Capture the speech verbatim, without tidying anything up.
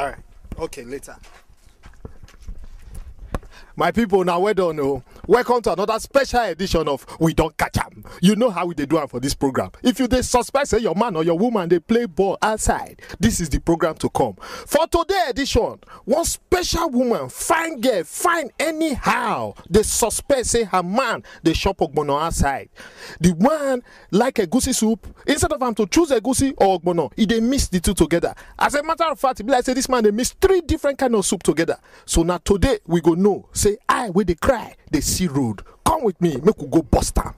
All right. Okay, later. My people, now well done. Oh. Welcome to another special edition of We Don't Catch 'em. You know how we dey do am for this program. If you dey suspect say your man or your woman dey play ball outside, this is the program to come. For today edition, one special woman, fine girl, fine anyhow, dey suspect say her man dey chop ogbono outside. The one like egusi soup, instead of am to choose egusi or ogbono, e dey mix the two together. As a matter of fact, e be like say this man dey mix three different kind of soup together. So na today we go know say I wey dey cry dey see road. Come with me, make we go bust am.